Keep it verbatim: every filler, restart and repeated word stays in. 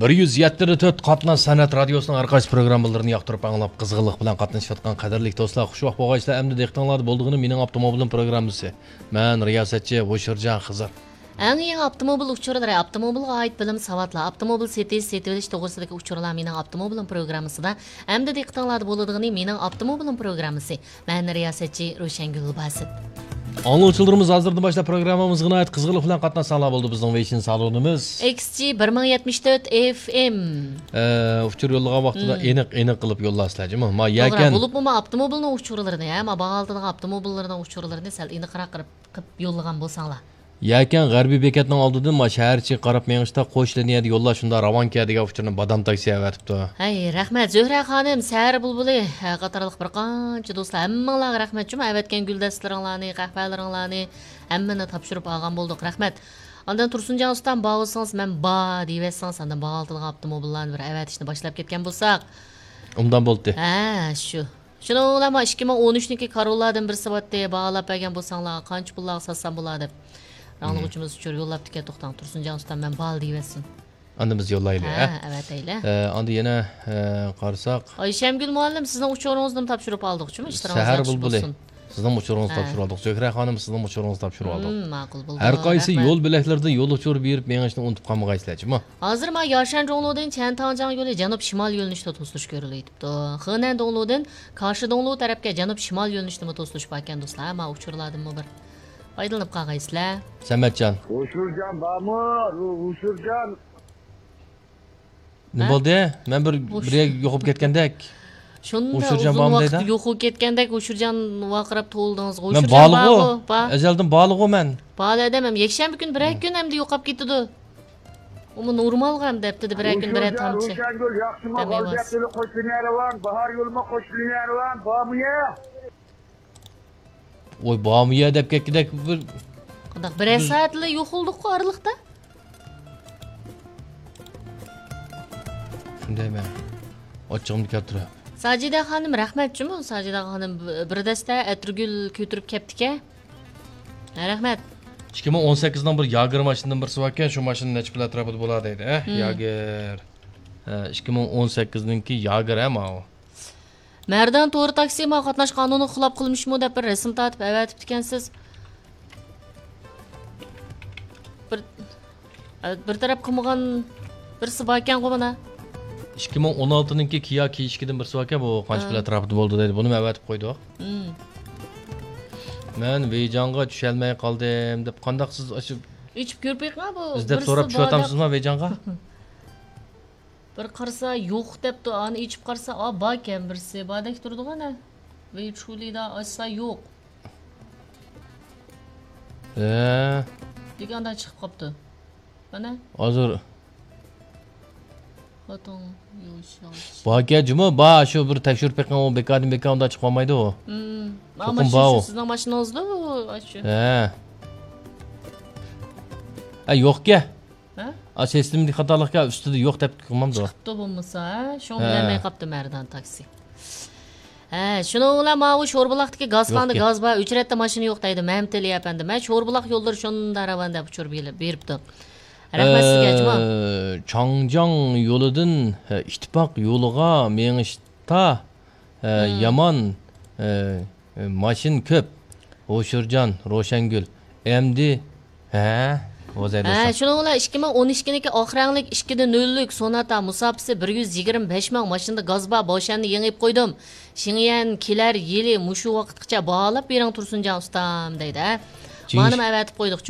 بىر يۈز يەتتە تۆت قاتناش سەنئەت رادىيوسىنىڭ ھەر قايسى پروگراممىلىرىنى ياقتۇرۇپ ئاڭلاپ، قىزغىنلىق بىلەن قاتنىشىۋاتقان قەدىرلىك دوستلار، خۇشۋاق بولغايسىلەر. ئەمدى دىققىتىڭلاردا بولىدىغىنى مېنىڭ ئاپتوموبىلىم پروگراممىسى. مەن رىياسەتچى ھوشۇرجان خىزىر. ئەڭ يېڭى ئاپتوموبىل ئۇچۇرلىرى، ئاپتوموبىلغا ئائىت بىلىم، ساۋاتلار، ئاپتوموبىل سېتىش، سېتىۋېلىش توغرىسىدىكى ئۇچۇرلار مېنىڭ ئاپتوموبىلىم پروگراممىسىدا. ئەمدى دىققىتىڭلاردا بولىدىغىنى مېنىڭ ئاپتوموبىلىم پروگراممىسى. مەن رىياسەتچى روشەنگۈل باسىت. ئاڭلىغۇچىلىرىمىز ھازىردىن باشلاپ پروگراممىمىزغا ناھايىتى قىزغىنلىق بىلەن قاتناشساڭلار بولدى. بىزنىڭ ۋېيشىن سالونىمىز. ئېكس جى بىر مىڭ يەتمىش تۆت ئېف ئېم. ئە، ئۇچۇر يوللىغان ۋاقتىدا مم. ئېنىق، ئېنىق قىلىپ يوللارسىلەر، جۇمۇ. ما، توغرا، يەكەن. بولۇپمۇ ما ئاپتوموبىلنىڭ ئۇچۇرلىرىنى، ھە، ما باھالىتىدىغان ئاپتوموبىللارنىڭ ئۇچۇرلىرىنى سەل ئېنىقراق قىلىپ، قىلىپ يوللىغان بولساڭلار. يەكەن غەربىي بېكەتنىڭ ئالدىدىن ما شەھەر ئىچىگە قاراپ مېڭىشتا قوش لىنىيەدە يوللار شۇنداق راۋانكەن دېگەن ئۇچۇرنى بادام تاكسى ئەۋەتىپتۇ. ھەي، رەھمەت، زۆھرە خانىم، سەھەر بۇلبۇلى، ھە، قاتارلىق بىر قانچە دوستلار، ھەممىڭلارغا رەھمەت جۇمۇ، ئەۋەتكەن گۈلدەستىلىرىڭلارنى، قەھۋەلىرىڭلارنى ھەممىنى تاپشۇرۇپ ئالغان بولدۇق، رەھمەت. ئاندىن تۇرسۇنجان ئۇستام، بار بولسىڭىز، مەن بار دېيىۋەتسىڭىز، ئاندىن باھالىتىدىغان ئاپتوموبىللارنى بىر ئەۋەتىشنى باشلاپ كەتكەن بولساق. ئوبدان بولدى. ھە، شۇ. شۇنىڭ بىلەن ما ئىككى مىڭ ئون ئۈچنىڭكى كارولادىن بىرسى بارتتى، باھالاپ بەرگەن بولساڭلار، قانچە پۇللارغا ساتسام بولار دەپ. ئاڭلىغۇچىمىز ئۇچۇر يوللاپتىكەن، توختاڭ، تۇرسۇنجان ئۇستام، مەن بار دېيىۋەتسۇن. ئاندىن بىز يوللايلى، ھە، ھە؟ ئەۋەتەيلى. ئە، ئاندىن يەنە، ئە، قارىساق. ئايشەمگۈل مۇئەللىم، سىزنىڭ ئۇچۇرىڭىزنىمۇ تاپشۇرۇپ ئالدۇق، جۇمۇ، ئىشلىرىڭىز سەھەر ياخشى بولسۇن. سىزنىڭ ئۇچۇرىڭىزنى ھە. تاپشۇرۇپ ئالدۇق. زۆھرە خانىم، سىزنىڭ ئۇچۇرىڭىزنى تاپشۇرۇپ ئالدۇق. مم، ماقۇل بولدى. ھەر قايسى رەھمەت. يول بۆلەكلىرىدە يول ئۇچۇرى بېرىپ مېڭىشنى ئۇنتۇپ قالمىغايسىلەر، جۇمۇ. ھازىر ما ياشەن جۇڭلۇدىن چيەنتاڭجياڭ يولى جەنۇب شىمال يۆنىلىشتە توسۇلۇش كۆرۈلۈۋېتىپتۇ. خېنەن دۇڭلۇدىن كاشى دۇڭلۇ تەرەپكە جەنۇب شىمال يۆنىلىشتىمۇ توسۇلۇش باركەن، دوستلار. ما ئۇچۇرلاردىنمۇ بىر پايدىلىنىپ قالغايسىلەر. سەمەتجان. ھوشۇرجان بارمۇ؟ ھوشۇرجان. نېمە ھە؟ بولدى؟ مەن بىر، بىر يەرگە يوقاپ كەتكەندەك. شۇنداق ئۇزۇن ۋاقىت يوقىلىپ كەتكەندەك، ھوشۇرجان ۋارقىراپ توۋلىدىڭىز. مەن بارلىغۇ. ئەزەلدىن بارلىغۇ مەن. بار ئادەم ھەم يەكشەنبە كۈنى بىرەر كۈن ئەمدى يوقاپ كېتىدۇ. ئۇمۇ نورمالغۇ ئەمدى ھەپتىدە بىرەر كۈن بىرەر تامچە. روشەنگۈل، ياخشىمۇ؟ دەم ئېلىۋالسۇن. غەلىبە قوشنا نەرۋان، باھار يولىمۇ قوشنا نەرۋان، بارمۇ يا؟ ۋوي، بارمۇ يا دەپ كەتكۈدەك بىر. قانداق، بىرەر سائەتلا يوقالدۇققۇ ئارىلىقتا. شۇندايمەن. ئاچچىقىمنى كەلتۈرۈپ. ساجىدە خانىم، رەھمەت جۇمۇ. ساجىدە خانىم بىر دەستە ئەتىرگۈل كۆتۈرۈپ كەپتىكەن. ھە، رەھمەت. ئىككى مىڭ ئون سەككىزنىڭ بىر ياگېر ماشىنىدىن بىرسى باركەن، شۇ ماشىنا نەچچە پۇل ئەتراپىدا بولا دەيدۇ، ھە؟ مم. ياگېر. ھە، ئىككى مىڭ ئون سەككىزنىڭكى ياگېر، ھە، ماۋۇ. مەردان تور تاكسى، ما قاتناش قانۇنىغا خىلاپ قىلمىشمۇ دەپ بىر رەسىم تارتىپ ئەۋەتىپتىكەنسىز. بىر، بىر تەرەپ قىلمىغان بىرسى باركەنغۇ مانا. ئىككى مىڭ ئون ئالتىنىڭكى كىيا كېي ئىككىدىن بىرسى باركەن، بۇ قانچە پۇل ئەتراپىدا بولدى دەيدۇ. بۇنىمۇ ئەۋەتىپ قويدۇق. مم. مەن ۋېيجاڭغا چۈشەلمەي قالدىم دەپ قانداق سىز ئاشۇ ئىچىپ كۆرۈپ بېقىڭ، بۇ ئىزدەپ بىرسى سوراپ بار دەپ. چۈشۈۋاتامسىزما ۋېيجاڭغا؟ بىر قارىسا يوق دەپتۇ، ئانى ئېچىپ قارىسا، ئا، باركەن بىرسى، باردەك تۇرىدىغۇ ئەنە. ۋېيچۇلىدا ئاچسا يوق. ھە. دېگەندە چىقىپ قاپتۇ. مانا. ھازىر. خوتۇن يۇيۇش. باركەن جۇمۇ، بار، شۇ بىر تەكشۈرۈپ بېقىڭ، ئۇ بىكاردىن بىكار ئۇنداق چىقىۋالمايدۇ ئۇ. مم. چوقۇم بار ئۇ. سىزنىڭ ماشىنىڭىزدا ئۇ، ئاشۇ. ھە. ئە، يوقكەن. ھە؟ ئا، سىستېمىدىكى خاتالىقكەن، ئۈستىدە يوق دەپ قىلمامدۇ؟ چىقىپتۇ بولمىسا، ھە؟ شۇڭا ھە. بىلەلمەي قاپتۇ مەردان تاكسى. ھە، شۇنىڭ بىلەن ماۋۇ شوربۇلاقتىكى گازخانىدا يوقكەن. گاز بار، ئۆچرەتتە ماشىنا يوق دەيدۇ مەمتىلى ئەپەندىم. ھە، شوربۇلاق يوللىرى شۇنداق راۋان دەپ ئۇچۇر بېرىپ-، بېرىپتۇ. رەھمەت سىزگە، ئە، جۇما. چاڭجياڭ يولىدىن، ئە، ئىتتىپاق يولىغا مېڭىشتا، ئە، مم. يامان، ئە، ماشىنا كۆپ. ھوشۇرجان، روشەنگۈل. ئەمدى، ھە، ھوزەيدە ھە، شۇنىڭ بىلەن ئىككى مىڭ ئون ئىككىنىڭكى ئاق رەڭلىك ئىككى دە نۆللۈك سوناتا مۇساپىسى بىر يۈز يىگىرمە بەش مىڭ ماشىنىدا گاز بار، باشەننى يېڭىپ قويدۇم. شېڭيەن كېلەر يىلى مۇشۇ ۋاقىتقىچە باھالاپ بېرىڭ تۇرسۇنجان ئۇستام دەيدۇ، ھە. جىنىش. مانىمۇ ئەۋەتىپ قويدۇق.